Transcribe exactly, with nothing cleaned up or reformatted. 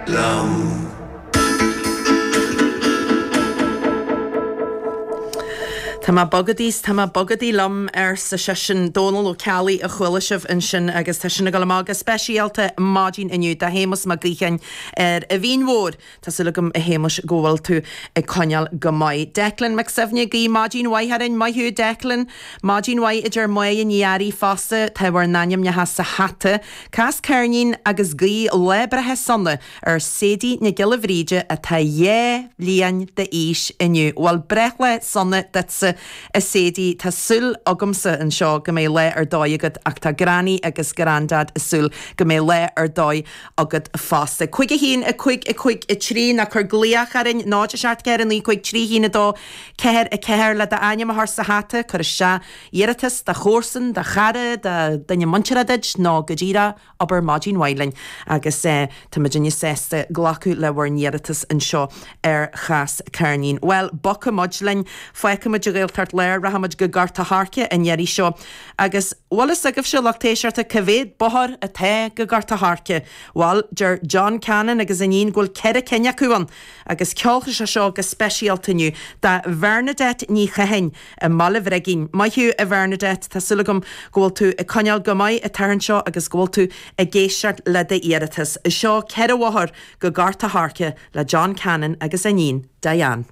Liom. Tá mé bogadaí 's tá mé bogadaí liom, arsa seisean. Dónal Ó Ceallaigh a chuala sibh ansin agus tá sin ag dul amach go speisialta maidin inniu do Shéamus Mac Gaoithín ar an Mhín Mhór. Tá súil agam a Shéamuis go bhfuil tú ag coinneáil go maith. Declan Mac Suibhne ag guí maidin mhaith orainn. Maith thú Declan. Maidin mhaith a deir Máire Ní Fhearraigh fosta. Tá bhur n-ainmneacha sa hata. Cas ceirnín agus guí lá breithe sona ar Sadie Nic Giolla Bhríde atá dhá bhliain d'aois inniu. Bhuel, breithlá sona duitse a Sadie. Tá súil agamsa anseo go mbeidh lá ar dóigh agat ach tá Granny agus Grandad ag súil go mbeidh lá ar dóigh agat fosta. Cúig a haon, a cúig, a cúig, a trí, nó cuir glaoch orainn, náid a seacht ceathair a naoi cúig trí haon a dó ceathair a ceathair le d'ainm a chur sa hata, cuir isteach iarratas do chomharsan, do chara, do dhuine muinteartha duit nó go díreach abair maidin mhaith linn agus tá muidinne sásta glacadh le bhur n-iarratas anseo ar Chas Ceirnín. Bhuel, bogfaidh muid linn, fágfaidh muid an Ghaeltacht Láir, rachaidh muid go Gort a' Choirce an iarraidh seo agus bhfuil fhios agaibhse, lucht éisteachta, cá mhéad bóthar atá go Gort a' Choirce? Bhuel, deir John Cannon agus a iníon go bhfuil ceithre cinn acu ann agus ceolfaidh sé seo go speisialta inniu do Bhernadette Ní Chatháin i mBaile Bhrigín. Maith thú, a Bhernadette, tá súil agam go bhfuil tú ag coinneáil go maith an tseachtain seo agus go bhfuil tú ag éisteacht le d'iarratas. Seo ceithre bhóthar go Gort a' Choirce le John Cannon agus a iníon, Diane.